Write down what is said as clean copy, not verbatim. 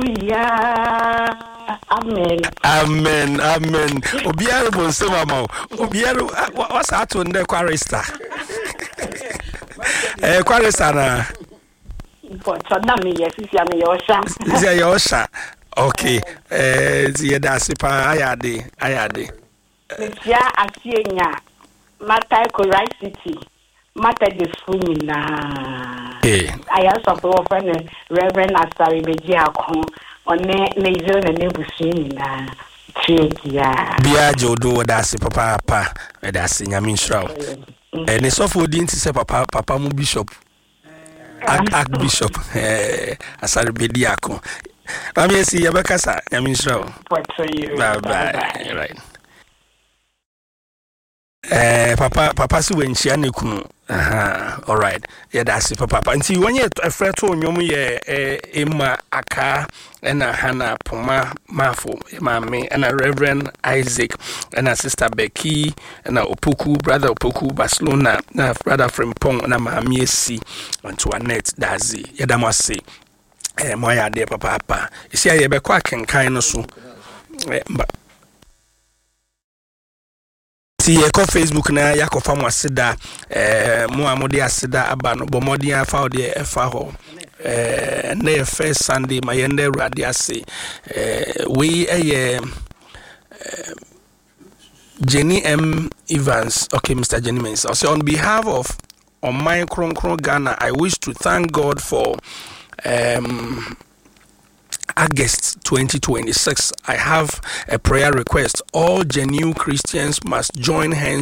Hallelujah. Amen. Amen. Amen. Obiara bɔ nsɛm ama wo. Obiara wasa ato ndɛ chorister. Eh, chorister na. Mpɔtɔ na meyɛ sisi a meyɛ ɔhyɛ. Sisi a yɛ ɔhyɛ. Okay. Eh, nti yɛda ase paa ayɛ ade ayɛ ade. Mekyia Asienya, Mataiko Rice City, Methodistfo nyinaa. Ayɛ sɔfo wɔfrɛ no Reverend Asare Bediako, ɔne ne yere ne n'abusua nyinaa. Kyerɛ biara. Biara gye wo do, wɔda ase papaapa, ɛda ase, Nyame nhyira wo. Ne sɔfo din te sɛ papa papa mu bishop, archbishop Asare Bediako. Maame Esi, yɛbɛkasa, Nyame nhyira wo. Bye bye. Right. Papa papa sɛ wanhyia ne kunu. Aha, alright, yɛda ase papapa. Nti wɔnyɛ ɛfrɛ to nnwom yɛ Emma Akaa ɛna Hannah Poma Mafo maame ɛna Reverend Isaac ɛna Sister Becky ɛna Opoku, Brother Opoku Barcelona na Brother Frimpong na Maame Esi Antoinette Dazi. Yɛda mo ase, mo ayɛ adeɛ papaapa. Ɛsi a yɛbɛkɔ akenkan no so. Nti yɛkɔ Facebook na yɛakɔfa mo aseda. Mo a mode aseda aba no, bɔ mmɔden afa wo deɛ ɛfa hɔ. Ɛnnɛ yɛ first Sunday, ma yɛn dɛ Awurade ase. Wei ɛyɛ Jenny M Evans. Okay, Mr Jenny Mensah ɔsɛ, "On behalf of Ɔman Kronkron Ghana, I wish to thank God for August 2026. I have a prayer request. All genuine Christians must join hands."